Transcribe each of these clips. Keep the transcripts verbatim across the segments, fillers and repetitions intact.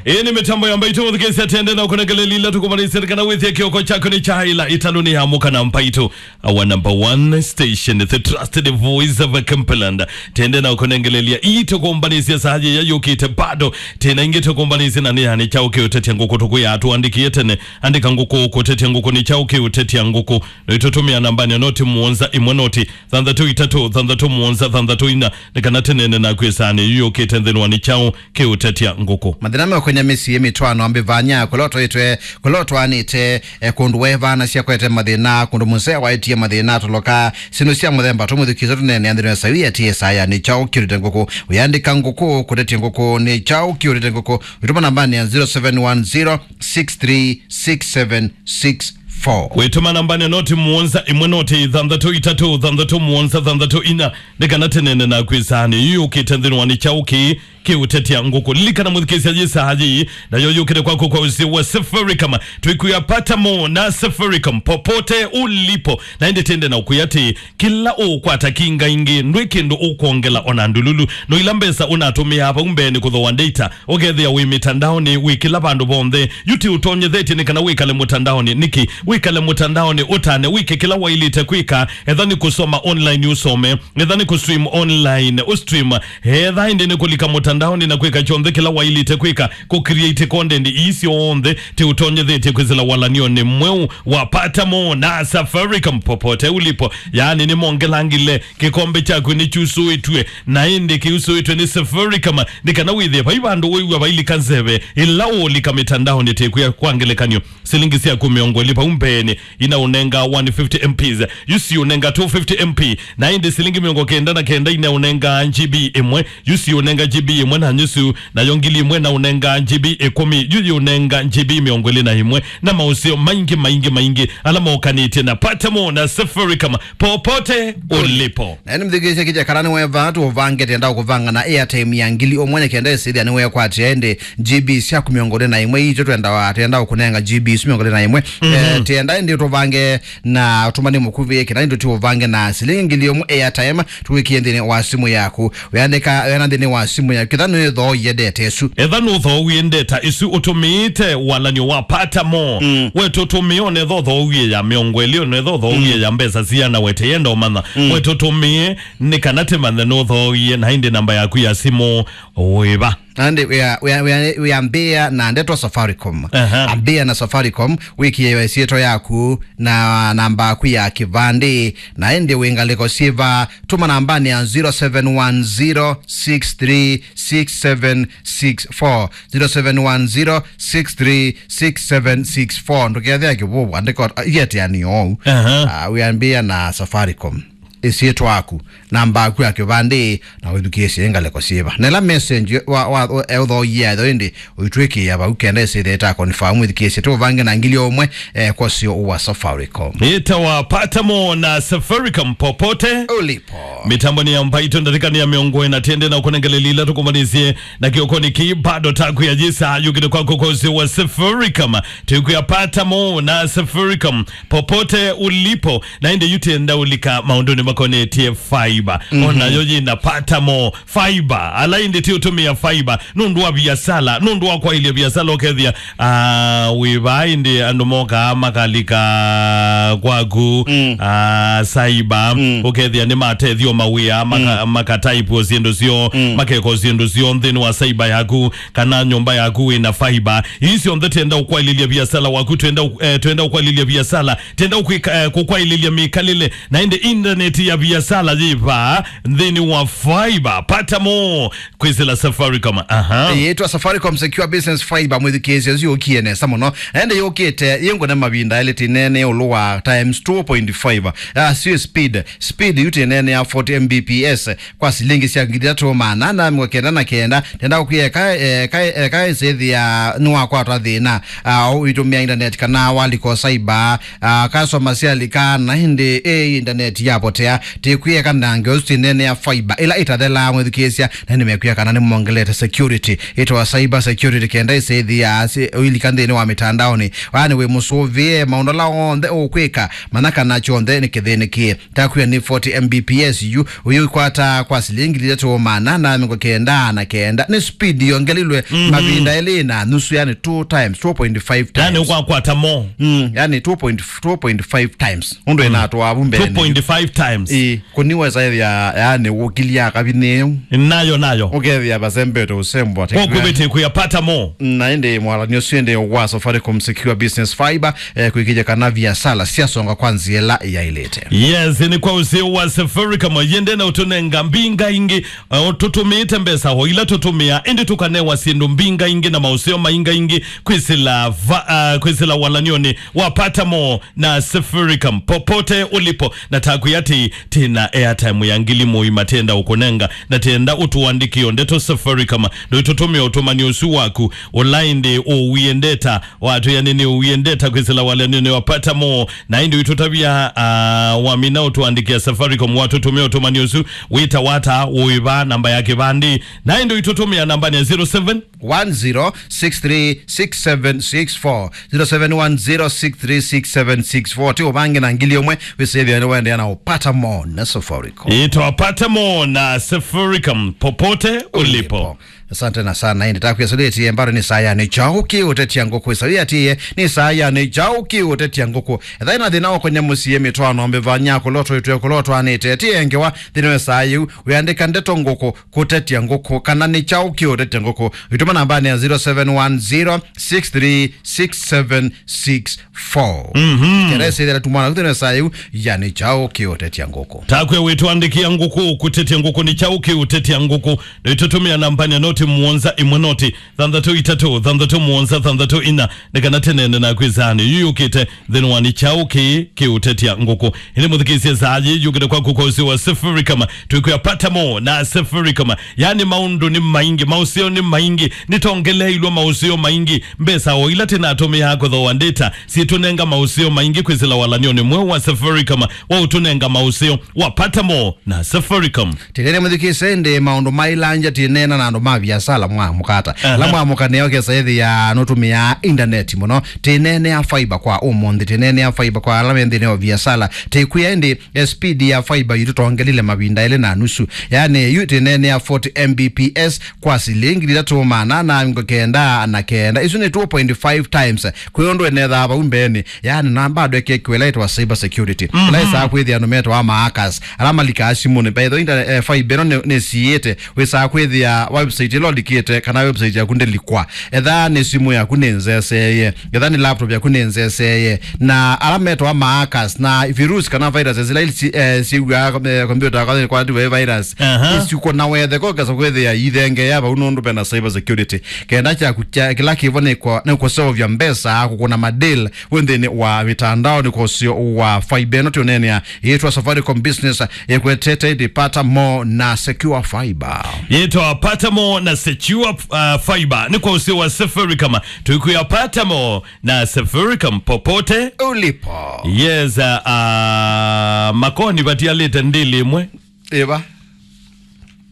Ĩĩ nĩ mĩtambo ya Mbaitũ mũthikĩĩsya, tende na ũkũnengeleli ila tũkũmanĩsya kana wĩthie kĩoko kyaku nĩ kyaĩla ĩtalũnĩ ya mũka na Mbaitũ, our number one station, the trusted voice of Kimberland. Tende na ũkũnengelelia ii tũkũmbanĩsya saa yĩya yũkĩte bado. Tena ingĩ tũkũmbanĩsya na nĩ yani kyaũ kĩũtetya ngũkũ tũkwĩa tũandĩkie tene. Andĩka ngũkũ kũtetya ngũkũ nĩ kyaũ kĩũtetya ngũkũ. No itũtũmĩa nambanĩ ya noti mũonza ĩmwe noti thanthatũ itatũ thanthatũ mũonza thanthatũ ina, nĩ kana tũneene naku ĩsaanĩ yu yũkĩte nthĩnĩ wa nĩ kyaũ kĩũtetya ngũkũ. Mathĩna meũkony'a mĩsyĩ, mĩtwaano, ambĩvany'a, kũla ũtwaĩtwe, kũla ũtwaanĩte, e, kũndũ weevaanasya kwete mathĩna, kũndũ mũsee waĩtie mathĩna, toloka, syĩndũ sya mũthemba tũmũthukĩĩsya tũneenea nthĩnĩ wa sawi ya T S I ya nĩ kyaũ kĩũtetya ngũkũ. Ũyandĩka ngũkũ kũtetya ngũkũ nĩ kyaũ kĩũtetya ngũkũ, ũitũma nambanĩ ya zero seven one zero six three six seven six four. Wĩtũma nambanĩ ya noti mũonza ĩmwe noti thanthatũ itatũ thanthatũ mũonza thanthatũ ina, nĩ kana tũneene naku ĩsaanĩ yu yũkĩte nthĩnĩ wa nĩ kyaũ kĩĩ kĩũtetya ngũkũ. Lilikana mũthikĩĩsya yĩ saa yĩĩ, nayo yũkĩte kwaku kwa ũsĩ wa Safaricom. Twĩkwĩa pata mo na Safaricom popote ulipo. Na ĩndĩ tende na ũkwĩa atĩ kĩla ũkwata kinga ingĩ, ndwĩ kĩndũ ũkwongela ona ndululu. No ila mbesa ũnatũmĩaa vau mbee nĩ kũthooa data, ũkethĩa wĩ mĩtandaonĩ, wĩ kĩla vandũ vonthe. Yu ti ũtonyethetye nĩ kana wĩkale mũtandaonĩ. Nĩkĩ? Wĩkale mũtandaonĩ, ũtane, wĩke kĩla waĩlĩte kwĩka. Etha nĩ kũsoma online, ũsome. Etha nĩ kũstream online, ũstream. Etha ĩndĩ nĩ kũlika mũtandaonĩ na kwĩka kyonthe kĩla waĩlĩte kwĩka, kũcreate content ii syonthe, ti ũtonyethetye kwĩsĩla walanionĩ mweũ wa pata mo na Safaricom popote ulipo. Yaani nĩmongelangile, kĩkombe kyaku nĩkyusũĩtw'e, na ĩndĩ kĩusũĩtw'e nĩ Safaricom, nĩ kana wĩthĩe vai vandũ wĩw'a vailika nzeve ĩla ũũlika mĩtandaonĩ. Tĩkwĩa kwa ngelekany'o, silingi syaku mĩongo ĩlĩ vau mbeenĩ inaũnenga one fifty M Ps, yu siũnenga two fifty M P, na ĩndĩ silingi mĩongo kenda na kenda inaũnenga G B ĩmwe, yu siũnenga G B ĩmwe na nyusu, nayo ngili ĩmwe naũnenga G B ĩkũmi, yu yĩũnenga G B mĩongo ĩlĩ na ĩmwe, na maũseo maingĩ, maingĩ, maingĩ ala mokanĩtye na pata mo na Safaricom popote ulipo. Na ĩndĩ mũthikĩĩsya kĩkya kana nĩweva tũvange tenda ũkũvanga na airtime ya ngili ũmwe nĩ kenda ĩsĩthya nĩwekwatĩa ĩndĩ G B syaku mĩongo ĩlĩ na ĩmwe, itũ twenda, twenda ũkũnenga G B isu mĩongo ĩlĩ na ĩmwe. Mhm. Eh, tienda ĩndĩ ũtũvange na ũtũmani mũkuvĩ, kĩna ĩndĩ tũvange na silingi ngili ũmwe airtime, tũwĩkie nthĩnĩ wa simũ yaku. Wĩandĩka, wĩana nthĩnĩ wa simũ yaku. Kĩtha nĩthooie ndeta ĩsu. Etha nũthooie ndeta ĩsu ũtũmĩĩte walanio wa pata mo. Mm. We tũtũmĩe, onetha ũthooie ya mĩongo ĩlĩ, onetha ũthooie, mm, ya mbesa siana wete yenda ũmanya. Mm. We tũtũmĩe, nĩ kana tĩmanye nũthooie, na ĩndĩ namba yaku ya simũ wĩva. Na ĩndĩ wĩa, wĩa, wĩa, wĩambĩĩa na ndeto Safaricom. Aha. Ambĩĩa na Safaricom, wĩkĩe ĩsyĩtwa yaku na namba yaku ya kĩvandĩ, na ĩndĩ wĩ ngalĩko syĩva, tũma nambanĩ ya zero seven one zero six three six seven six four, zero seven one zero six three six seven six four. Ndũkethĩa kĩvũvu, andĩka ĩatĩanĩo ou. Aha. Ah, wĩambĩĩa na Safaricom. Ĩsyĩtwa yaku, namba yaku ya kĩvandĩ, na wĩthukĩĩsye ngalĩko syĩva. Na ĩla message wa, wa, wa, eũthooie yayo ĩndĩ, ũitwĩkĩĩa vau kenda ĩsĩthĩe ta confirm, wĩthukĩĩsye tũvange na ngili ũmwe, eh, kwa ũseo wa Safaricom. Ĩtawa pata mo na Safaricom popote ulipo. Mĩtambo nĩ ya Mbaitũ, ndatĩka nĩ ya mĩongo ĩna tende na ũkũnengeleli ila tũkũmanĩsye na kĩokonĩ kĩĩ bado taku ya yĩsa yũkĩte kwaku kwa ũseo wa Safaricom. Tũkwĩa pata mo na Safaricom popote ulipo. Na ĩndĩ yu tenda ũlika maũndũnĩ makonetye fiber. Mhm. Onayo yĩna pata mo fiber. Ala ĩndĩ ti ũtũmĩa fiber nũndũ wa viasala, nũndũ wa kwaĩlya viasala, ũkethĩa, ah, wĩ vaa ĩndĩ andũ mokaa makalika kwaku, mm, ah, cyber, mm, ũkethĩa nĩ matethio mawĩa, maka-, mm, makataipwo syĩndũ syoo, mm, makekwa syĩndũ syoo nthĩnĩ wa cyber yaku, kana nyũmba yaku wĩna fiber. Ii syonthe tenda ũkwaĩlĩlya viasala waku, twenda ũ-, eh, twenda ũkwaĩlĩlya viasala, tenda ũkwĩka, eh, kũkwaĩlĩlya mĩkalĩle, na ĩndĩ intaneti ya viasala yĩ vaa nthĩnĩ wa fiber. Pata mo kwĩsĩla Safaricom. Aha. Yĩtwa Safaricom Secure Business Fiber, mwĩthukĩĩsye, ĩsu yũkie nesa mũno. Na ĩndĩ yũkĩte yĩngũne mavinda elĩ, tĩnene ĩũlũ wa times two point five. Ah, sio speed. Speed yu tĩnene ya forty M B P S. Kwa silingi sya ngili itatũ maana ana mĩongo kenda na kenda, tenda ũkwĩa eka, eka, eka ĩsĩthĩa nĩwakwatwa thĩna, ah, ũitũmĩa intaneti kana walika cyber, ah, customer syalika na ĩndĩ ĩ intaneti yapotea. ya, tĩkwĩeka na ngeũ isu tinene ya fiber, ĩla ĩtathelaa mwĩthukĩĩsya, na nĩmekwĩa kana nĩmongelete security. Ĩtawa cyber security kenda ĩsĩthĩa si-, ũilika nthĩnĩ wa mĩtandaonĩ. Yaani wĩ mũsũvĩe maũndũ ala onthe ũkwĩka, mana kana kyonthe nĩ kĩthĩnĩkĩe. Takwĩa nĩ forty M B P S yu, ũyũ ũkwata kwa silingi ngili itatu maana na mĩongo kenda na kenda. Nĩ speed yongelilwe mavinda elĩ na nusu, yani two times, two point five times. Yani ũkwakwata mo. Mm, yani two point, two point five times. Ũndũ ĩnatwa avu mbele. Two point five times. Ĩ, kũniweza ĩthĩa, yani ũkilia kavinĩ. Nayo, nayo. Ũkethĩa vasembete ũsembo. Kwa kubete kuyapata mo. Na ĩndĩ mwalani ũsu ĩndĩ wa Safaricom Secure Business Fiber, eh, kwĩkĩthya kana viasala syasonga kwa nzĩa ĩla yaĩlĩte. Yes, nĩ kwa ũseo wa Safaricom, yende na ũtũnenga mbinga ingĩ, eh, tũtũmĩĩte mbesa o ila tũtũmĩa, ĩndĩ tũkanewa syĩndũ mbinga ingĩ na maũseo mainga ingĩ kwĩsĩla va-, ah, kwĩsĩla walany'onĩ wa Pata Mo na Safaricom, popote ulipo. Na takwĩa atĩ, tĩna airtime ya ngili mũima tenda ũkũnenga, na tenda ũtũandĩkĩo ndeto Safaricom, ndũitũtũmĩa ũtũmani ũsu waku, ũla ĩndĩ ũwie ndeta, watwĩa nĩ nĩ ũwie ndeta kwĩsĩla walany'onĩ wa Pata Mo, na ĩndĩ ũitũtavya, ah, wamina ũtũandĩkĩa Safaricom, watũtũmĩa ũtũmani ũsu, wĩta wata, ũĩva, namba ya kĩvandĩ, na ĩndĩ ũitũtũmĩa nambani ya zero seven one zero six three six seven six four, zero seven one zero six three six seven six four. Ti ũvange na ngili ũmwe, wĩsĩthĩa nĩ waendeea na ũpata mo na Safaricom. Ĩtwa Pata Mo na Safaricom, popote ulipo. Asante na sana. Ĩndĩ takwĩa sũlĩtie mbaro nĩ saa ya nĩ kyaũ kĩũtetya ngũkũ. Ĩsaũ yatiie nĩ saa ya nĩ kyaũ kĩũtetya ngũkũ. Ethai na thĩna wa kũnyamũsie mĩtwano mbĩvanya kũlotwa itwe kũlotwa nĩ teti engewa thĩna wa saa yĩu. Wĩandĩka ndeto ngũkũ kũtetya ngũkũ, kana nĩ kyaũ kĩũtetya ngũkũ, wĩtũma nambani ya zero seven one zero six three six seven six four. Mhm. Kenda ĩsĩthĩra tumwana kũtene saa yĩu, ya nĩ kyaũ kĩũtetya ngũkũ. Takwĩa wĩtũandĩkĩa ngũkũ, kũtetya ngũkũ, nĩ kyaũ kĩũtetya ngũkũ. Nĩtũtũmĩa nambani ya noti mũonza ĩmwe noti thanthatũ itatũ thanthatũ mũonza thanthatũ ina, nĩ kana tĩnene naku ĩsaanĩ yu yũkĩte. Nthĩnĩ wa nĩ kyaũ kĩĩ kĩũtetya ngũkũ. Ĩndĩ mũthikĩĩsye saa yĩ yũkĩte kwaku kwa ũsĩ wa Safaricom. Twĩkwĩa Pata Mo na Safaricom. Yaani maũndũ nĩ maingĩ, maũseo nĩ maingĩ, nĩtongeleilwe maũseo maingĩ. Mbesa o ila tĩnatũmĩaa kũthooa data, syĩtũnenga maũseo maingĩ kwĩsĩla walany'onĩ mweũ wa Safaricom wa ũtũnenga maũseo wa Pata Mo na Safaricom. Tĩnene mũthikĩĩsye ĩndĩ maũndũ mailangya tĩneena na andũ ma viasala mwa mũkata. Aha. Ala mwamũka nĩo kesa ĩthĩa nũtũmĩaa intaneti mũno. Tĩneenea fiber kwa ũmũnthĩ, tĩneenea fiber kwa ala me nthĩnĩ wa viasala. Tĩkwĩa ĩndĩ, eh, speed ya fiber yitũ tongelile mavinda elĩ na nusu. Yaani yu tĩneenea forty M B P S kwa silingi itatu maana na mĩongo kenda na kenda. Isu nĩ two point five times. Kwĩ ũndũ ĩnethaa vau mbeenĩ. Yaani na bado ĩkĩkĩwa ĩla ĩtawa cyber security. Mhm. Ĩla ĩsaa kwĩthĩa andũ metawa ma hackers, ala malikaa simũnĩ. By the way, inter-, eh, fiber ĩno nĩ, nĩsiĩte. Wĩsaa kwĩthĩa website ĩla ũlikĩte kana website yaku ndĩlikwa. Etha nĩ simũ yaku nĩ nzeseye. Etha nĩ laptop yaku nĩ nzeseye. Na ala metawa ma hackers na virus kana viruses ila ili si-, eh, siw'aa, eh, computer kwa, kwa virus. Aha. Isi kũna wethe kokesa kwĩthĩa ithengea vau nũndũ vena cyber security. Kenda kyaku kya kĩla kĩvo nĩ kwa, nĩ kũseũvya mbesa, kũkũna madeal wĩ nthĩnĩ wa mĩtandao nĩ kwa ũseo wa fiber ĩno tũneenea yĩtwa Safaricom Business, ĩkwetete ĩndĩ Pata Mo na Secure Fiber. Yĩtwa Pata Mo na Secure, uh, Fiber. Nĩ kwa ũseo wa Safaricom. Twĩkwĩa Pata Mo na Safaricom popote ulipo. Yes, uh, uh, Makoni vatialĩte ndĩlĩ ĩmwe. Ĩva.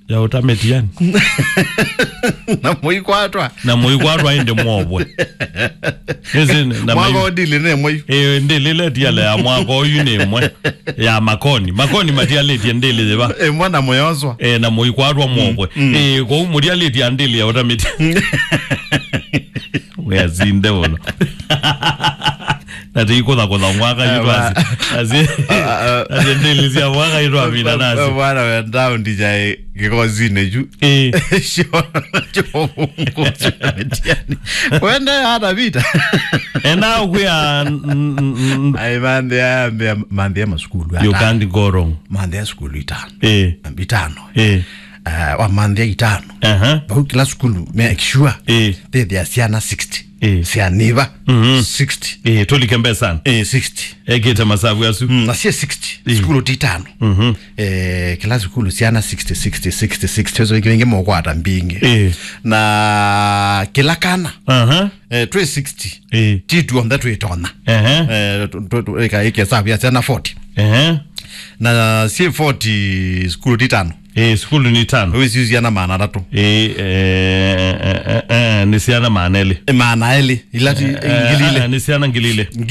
Ya ũta mĩtiani. Na mũikwatwa. Na mũikwatwa ĩndĩ mwovwe. Nĩsĩ na mwaka mai- ũndili nĩ mwayu. Ĩĩ, ndĩlĩ ĩla ĩtiale ya mwaka ũyu nĩ ĩmwe. Ya Makoni. Makoni matialĩtie ndĩlĩ yĩva. Ĩmwe na mũyoswa. Ĩĩ, na mũikwatwa mwovwe. Mm. Ĩĩ, kwoou mũtialĩtie ndĩlĩ ya ũta mĩtiani. Wĩasinde mũno. Na tĩikũthakũtha mwaka yu twasi. Asi, asi ndĩlĩ sya mwaka yu twamina nasi. Bwana wenda ũndija kĩkosinĩ yu. Ĩĩ. Sio, sio, sio, mĩtiani. Wende hata vita. Ena ũkwĩa, n-, n-, n-, ai, manthĩa, manthĩa masukulu. You can't go wrong. Manthĩa sukulu itano. Ĩĩ. Itano. Ĩĩ. Eh, wa manthĩa itano. Aha. Vau kĩla sukulu, make sure. Ĩĩ. Thĩthĩa syana sixty. Ĩĩ. Syana iva. Mhm. Sixty. Ĩĩ, tũlike mbesani. Ĩĩ, sixty. Ekĩte masavu asu. Mm, na sie sixty. Ĩĩ. Sukulu ti itano. Mhm. Eh, kĩla sukulu syana sixty, sixty, sixty, sixty. Ũcio kĩngĩ mũkwata mbingĩ. Ĩĩ. Na kĩla kana. Aha. Eh, twĩ sixty. Ĩĩ. Ti tuonthe twĩtonya. Ehe. Eh, tu-, tu-, tu-, ĩka, ĩka savu ya syana forty. Ehe. Na syĩ forty sukulu ti tano. Ĩĩ, sukulu nĩ tano. Ũĩ syĩ syana maana atatũ. Ĩĩ, eh, eh, eh, eh, nĩ syana maana elĩ. Ĩ, maana elĩ, ila ti, eh, ngili ilĩ. Eh, nĩ syana ngili ilĩ. Ngili